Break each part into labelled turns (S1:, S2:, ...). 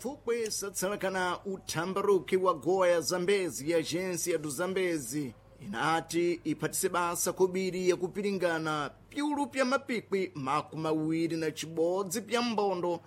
S1: Pfupwe satsalakana uthambaruki wa gowa ya Zambezi ya agência do Zambezi inati iphatise basa kobiri yakupiringana piulu pya mapikwi 21 pya mbondo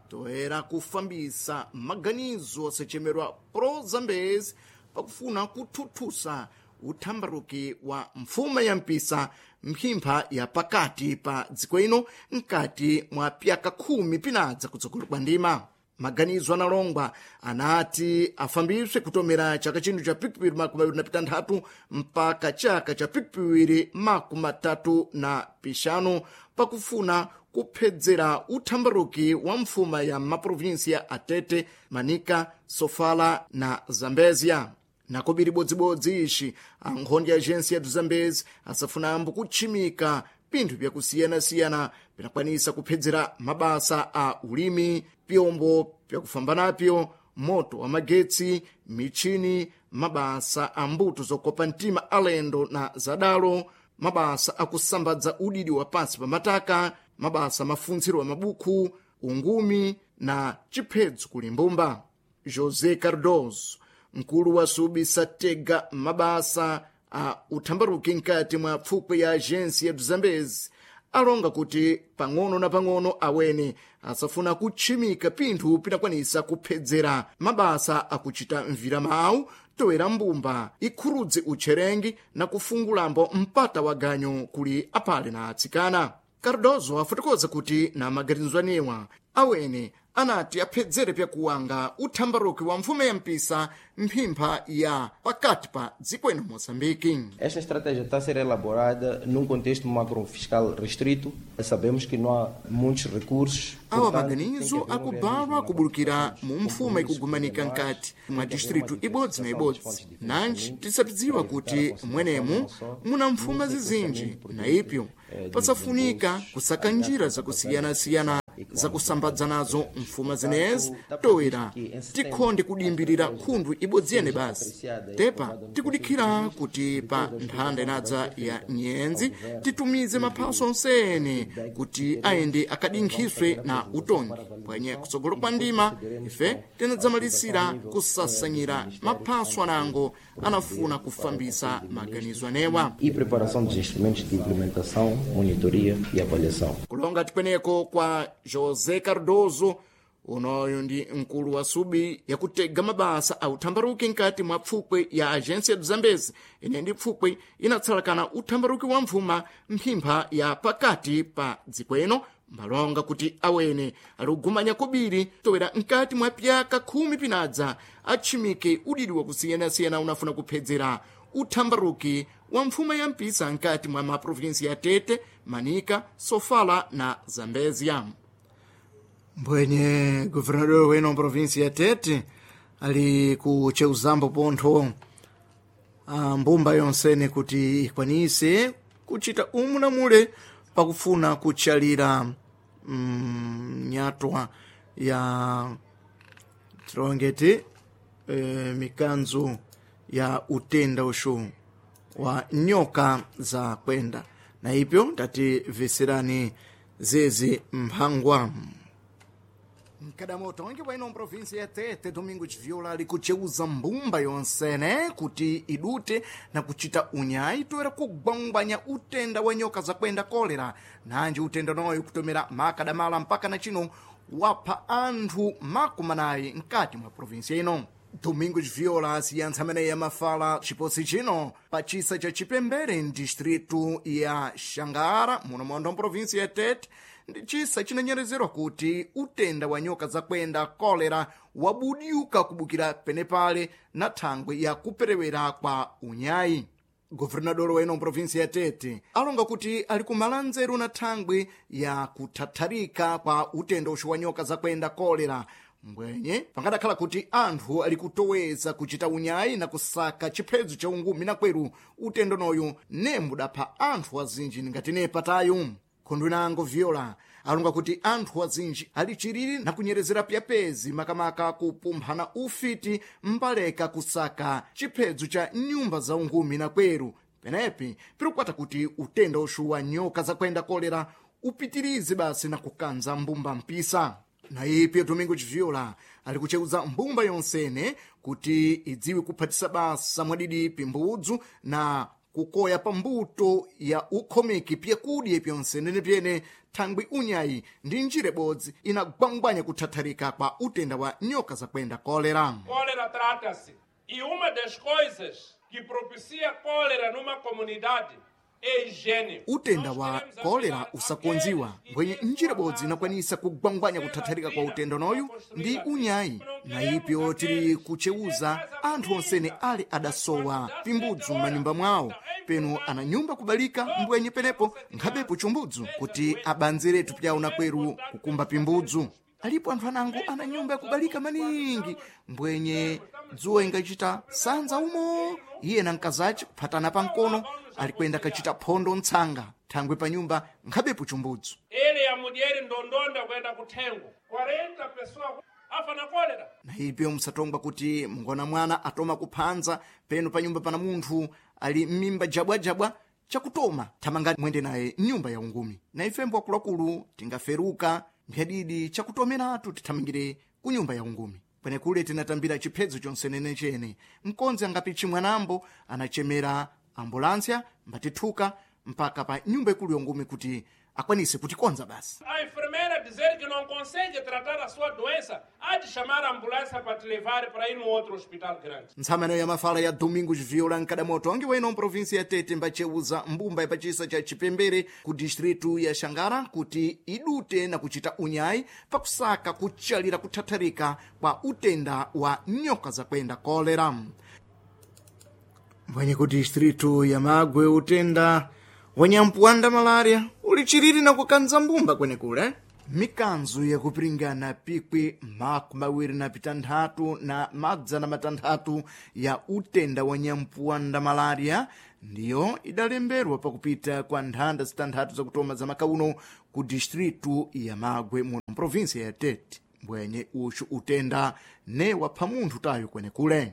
S1: toera kufambisa maganizo asachemerwa pro Zambezi pakufuna kuthuthusa uthambaruki wa mfuma ya mpisa mphimpha ya pakati pa dziko ino mkati mwa pyaka 10 pinadza kutsogolo kwa ndima. Maganizo analongwa anati afambiswe kutomera chaka chino cha pikipiri 26 mpaka chaka cha pikipiri 35 pakufuna kuphedzera uthambaruki wa mfuma ya maprovinsia Atete, Manica, Sofala na Zambezia. Nakobiri bodzibodzi ixi ankhondi ya agência ya do Zambezi asafunambo kutchimika pinthu byakusiyanasiyana pinakwanisa kuphedzera mabasa a ulimi, pyombo pyakufamba napyo, moto wa magetsi, michini, mabasa a mbuto zokopa mtima alendo na zadalo, mabasa akusambadza udidi wa pansi pa mataka, mabasa mafuntsiro wa mabukhu, ungumi na chiphedzo kuli mbumba. José Cardoso, mkulu wa subi satega mabasa a uthambaruki mkati mwa pfupwe ya agência do Zambezi alonga kuti pang'ono na pang'ono awene asafuna kutchimika pinthu pinakwanisa kuphedzera mabasa akuchita mvira mawu toera mbumba ikhurudze utcherengi na kufungulambo mpata wa ganyo kuli aphale na atsikana. Cardoso afotokoza kuti na maganizo anewa awene anati aphedzere pyakuwanga uthambaruki wa mfume ya mpisa mphimpha ya pakati pa dziko ino Moçambique.
S2: Esta estratégia está a ser elaborada num contexto macrofiscal restrito. Sabemos que não há muitos recursos.
S1: Awa maganizo akubalwa kubulukira mu mfuma ikugumanika nkati mwa distritu ibodzi na ibodzi, nanji tisapidziwa kuti mwenemu muna mfuma zizinji na ipyo pasafunika kusaka njira zakusiyanasiyana zakusambadza nazo mfuma zenezi toera tikhonde kudimbirira khundu ibodzi yene basi. Tepa tikudikhira kuti pa nthanda inadza ya nyenzi titumize maphaso onsene kuti ayende akadinkhiswe na utongi pwenye kutsogolo kwa ndima ife tinadzamalisira kusasanyira maphaso anango anafuna kufambisa maganizo anewa
S2: E preparação dos instrumentos de implementação, monitoria e avaliação.
S1: Kulonga tikweneko kwa José Cardoso, unoyu ndi mkulu wa subi yakutega mabasa a uthambaruki nkati mwa pfupwe ya agência do Zambezi ine ndi pfupwe inatsalakana uthambaruki wa mfuma mphimpha ya pakati pa dziko ino mbalonga kuti awene alikugumanya kobiri towera nkati mwa pyaka 10 pinadza atchimike udidi wakusiyanasiyana unafuna kuphedzera uthambaruki wa mfuma ya mpisa nkati mwa maprovinsi ya Tete, Manica, Sofala na Zambezia. Mbwenye governador weno provinsi ya Tete ali kucheuzambo pontho a mbumba yonsene kuti ikwanise kuchita umu na mule pakufuna kutchalira nyatwa ya tilongeti mikanzo ya utenda uxu wa nyoka za kwenda na ipyo tati veserani zezi mphangwa. Mkadamoto wangi waino mprovinsi ya Tete Domingos Viola ali kucheuza mbumba yonsene kuti idute na kuchita unyayi toera kugwangwanya utenda wa nyoka za kwenda kolera, nanji utenda noyo kutomera makadamala mpaka na chino wapha anthu 40 mkati mwa provinsi ino. Domingos Viola asiyantsa ameneyi amafala chiposi chino pa chisa cha Chipembere mdistritu ya Xangara muno mondo mprovinsi ya Tete ndi chisa chinanyerezerwa kuti utenda wa nyoka zakwenda kolera wabudyuka kubukira penepale na thangwe ya kuperewera kwa unyayi. Governador weno mprovinsi ya Tete alonga kuti ali kumala nzeru na thangwe ya kuthatharika kwa utenda uxu wa nyoka zakwenda kolera mbwenye pangadakhala kuti anthu ali kutoweza kuchita unyayi na kusaka chiphedzo cha ungumi na kweru utendo noyu nembudapha anthu azinji ngati nepatayu. Khundu inango Viola alonga kuti anthu azinji ali chiriri na kunyerezera pyapezi makamaka kupumphana ufiti mbaleka kusaka chiphedzo cha nyumba za ungumi na kweru penepi pirikwata kuti utenda uxu wa nyoka zakwenda kolera upitirize basi na kukanza mbumba mpisa. Na ipi Domingo Chiviola ali kucheuza mbumba yonsene kuti idziwe kuphatisa basa mwadidi pimbudzu na kukoya pambuto ya ukhomeki pyakudya pyonsenene pyene thangwi unyayi ndi njira ibodzi inagwangwanya kuthatharika kwa utenda wa nyoka zakwenda kolera.
S3: Cólera trata-se. E uma das coisas que propicia cólera numa comunidade é a higiene.
S1: Utenda wa kolera usakonziwa mbwenye njira ibodzi inakwanisa kugwangwanya kuthatharika kwa utenda unoyu ndi unyayi. Na ipyo tili kuchewuza anthu onsene ali adasowa pimbudzu m'manyumba mwawo, penu ana nyumba kubalika mbwenye penepo nkhabepo chumbudzu kuti abanzeretu pyawo na kweru kukumba pimbudzu. Alipo anthu anango ana nyumba yakubalika maningi mbwenye dzuwa ingachita sanza umo iye na mkazace kuphatana pamkono alikwenda kachita phondo ntsanga thangwe pa nyumba nkhabepo chumbudzu.
S3: Ele a mulher ndondonda kuenda kuthengo 40 pessoas afa na cólera.
S1: Na ipyo musatongwa kuti mngona mwana atoma kuphanza penu pa nyumba pana munthu ali m'mimba jabwajabwa chakutoma thamangani mwende naye mnyumba ya ungumi. Na ifembo akuluakulu tingaferuka mphadidi chakutomeratu tithamangire ku nyumba ya ungumi. Kwenekule tinatambira chiphedzo chonsenene chene mkonzi angapichi mwanambo anachemera ambulansia mbatithuka mpaka pa nyumba ikulu ya ungumi kuti akwanise kutikonza basi.
S3: A enfermeira dizer que não consegue tratar a sua doença, há de chamar a ambulância para te levar para ir num outro hospital grande.
S1: Ntsamano ya mafala ya Domingos Viola nkadamoto angi weno mprovinsi ya Tete mbacheuza mbumba ya pachisa cha Chipembere ku distritu ya Xangara kuti idute na kuchita unyayi pakusaka kuchalira kuthatharika kwa utenda wa nyoka zakwenda kolera. Mbwenye ku distritu ya Magwe utenda wanyampuwanda malaria ulichiriri na kukanza mbumba kwenekule. Mikanzu yakupiringana pikwi 26 na 600 ya utenda wa nyampuwanda malaria ndiyo idalemberwa pakupita kwa nthanda zitanthatu zakutoma za makauno ku distritu ya Magwe muno mprovinsia ya Tete. Mbwenye uxu utenda ne wapha munthu tayo kwenekule.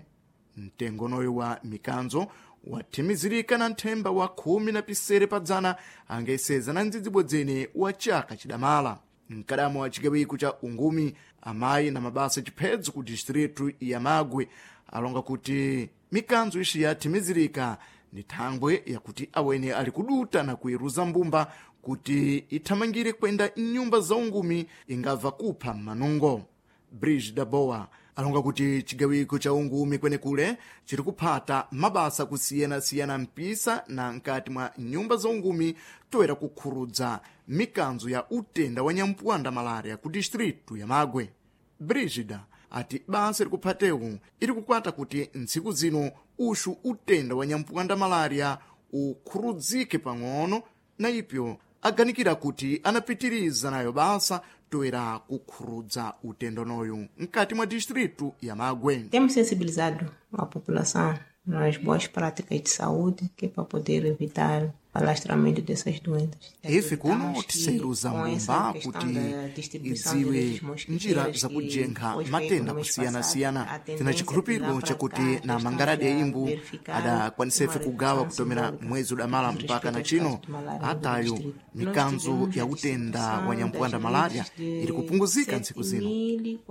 S1: Mtengonoyo wa mikanzo wathimizirika na nthemba wa 10 pa dzana angeseza na ndzidzibwedzene wa chaka chidamala. Mkadamo wa chigawiko cha ungumi amayi na mabasa chiphedzo ku distritu ya Magwe alonga kuti mikanzo ixi yathimizirika ni thangwe yakuti awene ali kuduta na kuiruza mbumba kuti ithamangire kwenda mnyumba za ungumi ingabva kupha mmanungo. Brigida Boa alonga kuti chigawiko cha ungumi kwenekule chiri kuphata mabasa kusiyanasiyana mpisa na nkati mwa nyumba za ungumi toera kukhurudza mikanzo ya utenda wa nyampuwanda malaria ku distritu ya Magwe. Brigida ati basa likuphatewu ili kukwata kuti ntsiku zino uxu utenda wa nyampuwanda malaria ukhurudzike pang'ono na ipyo aganikira kuti anapitiriza nayo basa toera kukhurudza utendonoyu mkati mwa distritu ya Magwe.
S4: Temos sensibilizado a população nas boas práticas de saúde, que é para poder evitar o alastramento dessas doenças.
S1: Ife kuno
S4: Acreditamos que
S1: tiseiruza
S4: com essa
S1: mbumba
S4: questão
S1: kuti
S4: da distribuição de
S1: idziwe
S4: redes
S1: njira
S4: mosquiteiras que
S1: zakujenkha
S4: foi feita
S1: matenda
S4: no mês
S1: kusiyana-siyana.
S4: passado, a
S1: Tina
S4: tendência de
S1: chikhulupiriro
S4: lá para
S1: chakuti
S4: cá,
S1: na
S4: já estamos
S1: mangaradi
S4: a
S1: ya imbu
S4: verificar
S1: adakwanisefe
S4: uma
S1: kugawa
S4: redução
S1: kutomera
S4: simbólica
S1: mwezi udamala
S4: no
S1: mpaka
S4: respeito
S1: na
S4: aos
S1: chino
S4: casos de malária no
S1: atayo
S4: distrito. Nós
S1: mikanzo
S4: tivemos
S1: ya
S4: a
S1: utenda
S4: distribuição
S1: wa nyampuwanda
S4: das
S1: malaria
S4: redes de
S1: iri kupunguzika ntsiku zino.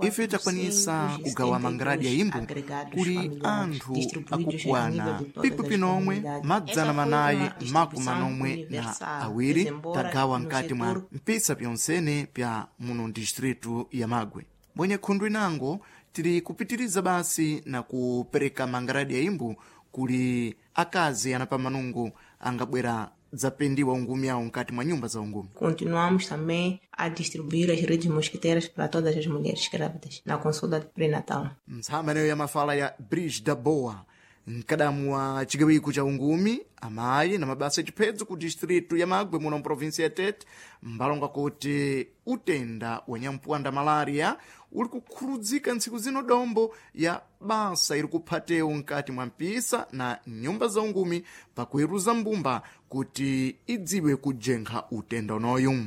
S1: Ife takwanisa kugawa mangaradi ya
S4: 7.472
S1: imbu
S4: agregados
S1: kuli
S4: familiares
S1: anthu
S4: distribuídos a nível
S1: akukwana
S4: de todas
S1: pikwi
S4: as
S1: pinomwe
S4: comunidades.
S1: madzana
S4: Essa foi
S1: manayi
S4: uma
S1: makumi
S4: distribuição
S1: manomwe na
S4: universal,
S1: awiri
S4: embora
S1: tagawa
S4: no
S1: mkati mwa
S4: setor
S1: mpisa pyonsene pya muno distritu ya Magwe. Mbwenye khundu inango tili kupitiriza basi na kupereka mangaradi ya imbu kuli akazi ana pamanungu angabwera dzapendiwa ungumi awo mkati mwa nyumba za ungumi.
S4: Continuamos também a distribuir as redes mosquiteiras para todas as mulheres grávidas na consulta pré-natal.
S1: Ntsama ya mafala ya Brigida Boa mkadamu wa chigawiko cha ungumi amayi na mabasa achiphedzo ku distritu ya Magwe muno mprovinsi ya Tete mbalonga kuti utenda wa nyampuwanda malaria uli kukhurudzika ntsiku zino dombo ya basa iri kuphatewu mkati mwa mpisa na nyumba za ungumi pakuiruza mbumba kuti idziwe kujenkha utenda unoyu.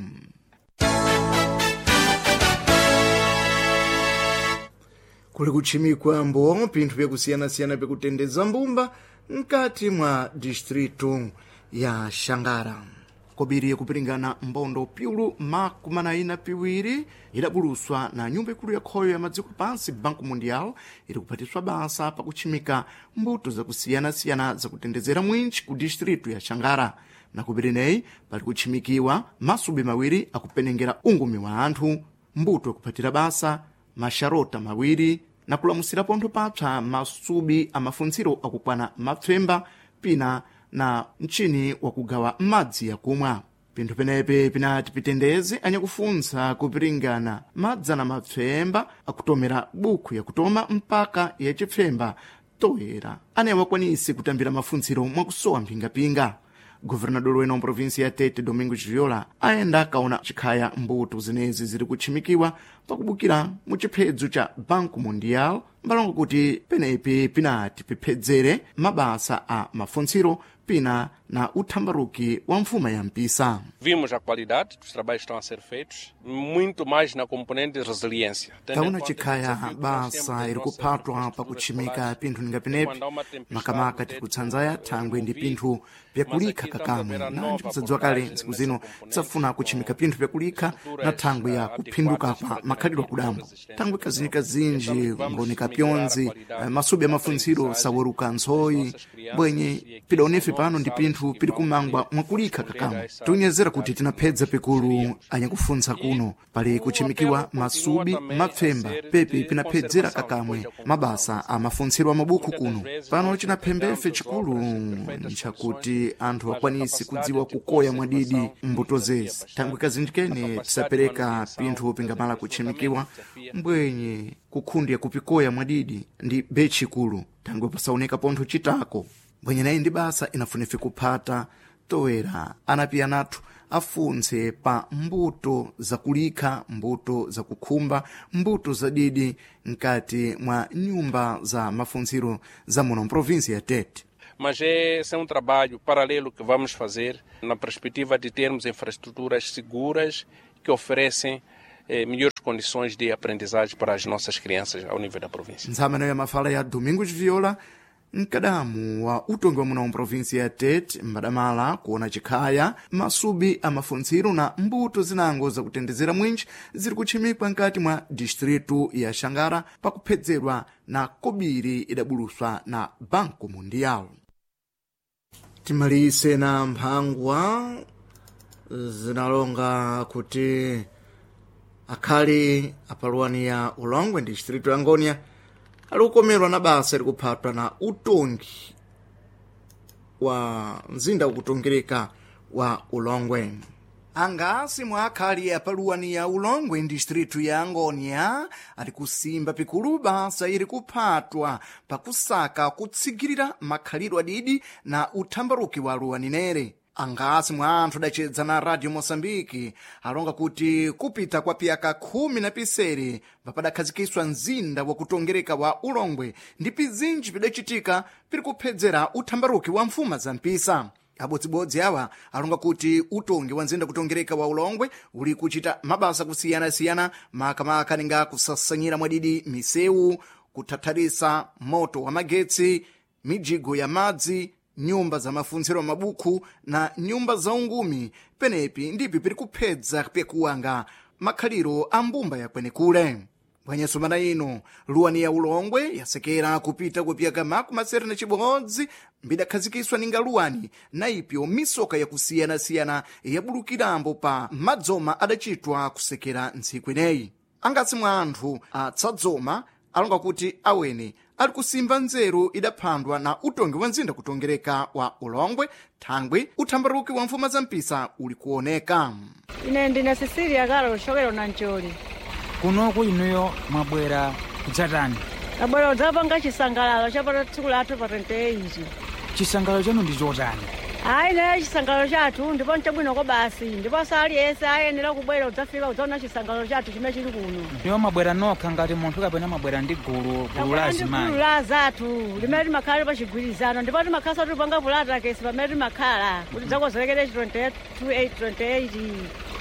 S1: Kuli kutchimikwa mbo pinthu pyakusiyana-siyana pyakutendeza mbumba mkati mwa distritu ya Xangara. Kobiri yakupiringana mbondo piulu makumanayi na piwiri idabuluswa na nyumba ikulu ya khoyo ya madziko pansi Banco Mundial iri kuphatiswa basa pakutchimika mbuto zakusiyanasiyana zakutendezera mwinchi ku distritu ya Xangara. Nakupireneyi pali kutchimikiwa masubi mawiri akupenengera ungumi wa anthu, mbuto yakuphatira basa, maxarota mawiri na kulamusira pontho papsa masubi amafuntsiro akukwana mapfemba pina na mchini wakugawa madzi yakumwa. Pinthu penepe pinati pitendeze anyakufuntsa kupiringana madzana mapfemba akutomera bukhu yakutoma mpaka yacipfemba toera anaye wakwanise kutambira mafuntsiro mwakusowa mphingapinga. Governador wena wa provinsi ya Tete, Domingos Viola, ayenda akaona chikhaya mbuto zenezi ziri kutchimikiwa pakubukira mu chiphedzo cha Banco Mundial, mbalongo kuti penepi pinati piphedzere mabasa a mafuntsiro pina na uthambaruki wa mfuma ya mpisa.
S3: Vimos a qualidade dos trabalhos que estão a ser feitos, muito mais na componente de resiliência.
S1: Taona chikhaya basa iri kuphatwa pakutchimika pinthu ninga penepi, makamaka tikutsanzaya thangwe ndi pinthu pyakulikha kakamwe. Nanji kusadziwa kale ntsiku zino tisafuna kutchimika pinthu pyakulikha na thangwe ya kuphinduka kwa makhalidwe akudambo. Thangwe kazinji ngooneka pyonzi, masubi amafuntsiro saweruka ntsoyi, bwenye pidaonefe pano ndi pinthu pili kumangwa mwakulikha kakamwe. Tiunyezera kuti tinaphedza pikulu anyakufuntsa kuno pali kutchimikiwa masubi mapfemba pepi pinaphedzera kakamwe mabasa a mafuntsiro a mabukhu kuno. Pano chinaphembefe chikulu nchakuti anthu akwanise kudziwa kukoya mwadidi mbuto zezi. Thangwe kazinji kene tisapereka pinthu pingamala kutchimikiwa mbwenye kukhundi yakupikoya mwadidi ndi bechi ikulu, thangwe pasaoneka pontho chitako. Mbwenye nayi ndi basa inafunefe kuphata toera anapi anathu afuntse pa mbuto zakulikha, mbuto zakukhumba, mbuto zadidi mkati mwa nyumba za mafuntsiro za muno mprovinsi ya Tete.
S3: Mas esse é trabalho paralelo que vamos fazer na perspectiva de termos infraestruturas seguras que oferecem melhores condições de aprendizagem para as nossas crianças ao nível da província.
S1: Ntsama ya mafala ya Domingos Viola, mkadamu wa utongi wa muno mprovinsi ya Tete, mbadamala kuona chikhaya masubi amafuntsiro na mbuto zinango zakutendezera mwinji ziri kutchimikwa nkati mwa distritu ya Xangara pakuphedzerwa na kobiri idabuluswa na Banco Mundial. Timalise na mphangwa zinalonga kuti akhali apaluwani ya Ulongwe ndi distritu ya Ngonia ali kukomerwa na basa likuphatwa na utongi wa mzinda ukutongereka wa Ulongwe. Angasi mwa akhali apaluwani ya Ulongwe distritu ya Ngonia ali kusimba pikulu basa ili kuphatwa pakusaka kutsigirira makhalidwe adidi na uthambaruki wa luwani nere. Angasi mwa anthu adacedza na Radio Moçambique alonga kuti kupita kwa piyaka khumi na pisere padakhazikiswa mzinda wakutongereka wa Ulongwe ndi pizinji pidacitika piri kuphedzera uthambaruki wa mfuma za mpisa. Abodzibodzi awa alonga kuti utongi wa mzinda kutongereka wa Ulongwe uli kuchita mabasa kusiyanasiyana, makamaka ninga kusasanyira mwadidi misewu, kuthatharisa moto wa magetsi, mijigo ya madzi, nyumba za mafuntsiro mabukhu na nyumba za ungumi. Penepi ndipi piri kuphedza pyakuwanga makhaliro a mbumba yakwenekule. Bwanyeso mana ino luwani ya Ulongwe yasekera kupita kupyaka makumi asere na chibodzi mbidakhazikiswa ninga luwani na ipyo misoka yakusiyanasiyana yabulukirambo pa madzoma adacitwa kusekera ntsiku ineyi. Angasi mwa anthu atsadzoma alonga kuti awene ali kusimba nzeru idaphandwa na utongi wa mzinda kutongereka wa Ulongwe thangwi uthambaruki wa mfuma za mpisa uli kuoneka.
S5: Ine ndine Cecilia Kalo kuchokera Nancholi.
S6: Kunoku inuyo mwabwera kudzatani?
S5: Abwera kudzapanga chisangalalo chapata tsiku lathu pa 28.
S6: Chisangalalo chanu ndi chotani?
S5: Ayi, naye chisangalalo chathu ndipo nchabwinoko basi, ndiponso aliyense ayenera kubwera kudzafika kudzaona chisangalalo chathu chimene chili kuno.
S6: Ndiwo mabwera nokha ngati munthu kapena mabwera ndi gulu gulu la
S5: Tabwera ndi gulu
S6: azimayi?
S5: la zathu limene timakhala pa chigwirizano, ndipo timakhala tipanga pulatakesi pamene timakhala kuti dzakonzerekere 28 28.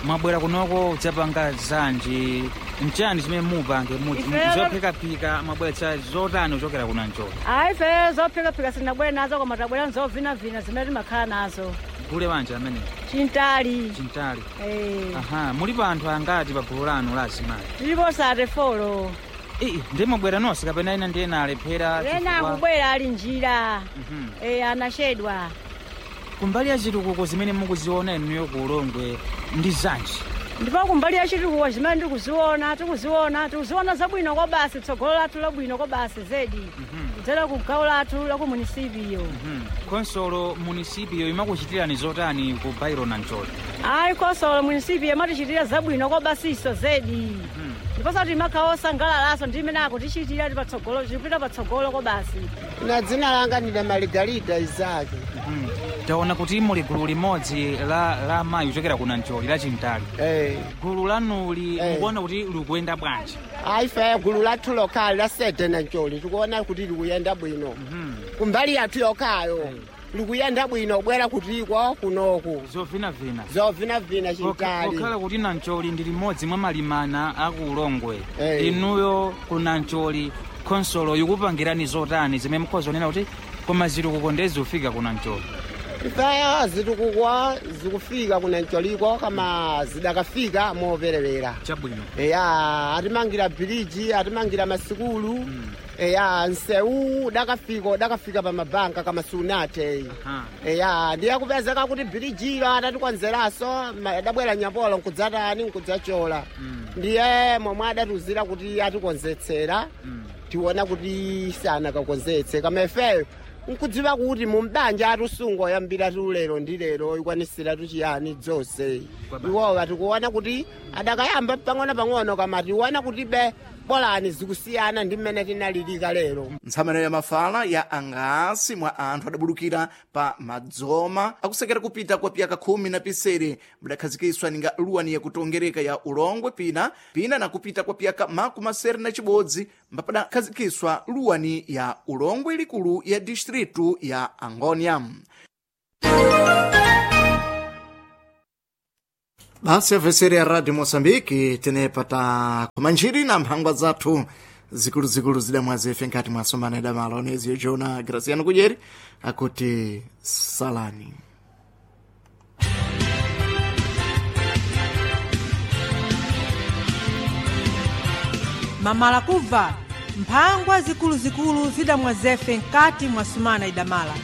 S6: Mwabwera kunoko kudzapanga zanji, nchani chimene mupange? Zophikaphika mwabweretsa zotani kuchokera kuna Njolo?
S5: Ayi, ife zophikaphika sitinabwere nazo, koma tabwera nzovinavina zimene timakhala nazo.
S6: Gule wanje amene?
S5: Chintali.
S6: Chintali.
S5: Eh.
S6: Aha, mulipo anthu angati pa gulu lanu la azimayi?
S5: Tilipo 34.
S6: Ii, ndimubwera nonse kapena ena ndi ena alephera?
S5: Ena
S6: Chifukwa-
S5: akubwera ali njira.
S6: Mhm.
S5: Eh, anachedwa.
S6: Kumbali ya chitukuko zimene mukuziona inuyo ku Ulongwe ndi zanji?
S5: Ndipo kumbali ya chitukuko zimene ndikuziona, tikuziona zabwino kwa basi, tsogolo lathu labwino kwa basi zedi, kudzera ku gawo lathu la ku munisipiyo.
S6: Khonsolo munisipiyo imakuchitirani zotani ku bairo na Ncholi?
S5: Ayi, khonsolo munisipiyo imatichitira zabwino kwa basiso zedi, ndiponso timakhala osangalalaso ndi imene akutichitira patsogolo, tikupita patsogolo kwa basi.
S7: Na dzina langa ndine Maligarida Izaki.
S6: Taona kuti muli gulu limodzi la amayi kuchokera ku Nancholi la Chintali.
S7: Eh.
S6: Gulu lanuli
S7: Eh.
S6: mukuona kuti likuyenda bwanji?
S7: Ayi, ife gulu lathu lokhali la sede Nancholi tikuona kuti likuyenda bwino. Kumbali yathu yokhayo likuyenda bwino, bwera kutiko kunoku.
S6: Zovinavina.
S7: Zovinavina Chintali.
S6: Pokhala kuti Nancholi ndi limodzi mwa malimana aku Ulongwe,
S7: Eh.
S6: inuyo ku Nancholi khonsolo ikupangirani zotani zimene mukhoza kunena kuti koma zitukuko ndezikufika ku Nancholi?
S7: Ifeyo zitukuko zikufika kunancholiko kama zidakafika moperewera.
S6: Chabwino.
S7: Eya, atimangira bhiriji, atimangira masikulu. Eya, nsewu udakafika pa mabanka kama sunate.
S6: Aha.
S7: Eya, ndiye kupezeka kuti bhirijilo atatikonzeraso, adabwera nyapolo nkudzatani, nkudzachola. Ndiye momwe adatuzira kuti atikonzetsera, tiona kuti sanakakonzetse, kama ifeyo nkudziwa kuti mumbanja atusungo yambira tulero ndi lero ikwanisira tuchiyani dzonse. Iwowa tikuona kuti adakayamba pang'ono-pang'ono, kama tiona kuti be bolani zikusiyana ndi mmene tinalilika lero.
S1: Ntsamano ya mafala ya angasi mwa anthu adabulukira pa madzoma akusekera kupita kwa piyaka 17 mudakhazikiswa ninga luwani yakutongereka ya Ulongwe pina pina na kupita kwa piyaka 61 mbapadakhazikiswa luwani ya Ulongwe likulu ya distritu ya Angonia. Basi afeseri ya Radio Moçambique, tenepata kumanjiri na mphangwa zathu zikuluzikulu zidamwazefe nkati mwasomana idamala oneziyo Jona Graciano Kudyeri akuti salani.
S8: Mamala kubva mphangwa zikuluzikulu zidamwazefe nkati mwa sumana idamala.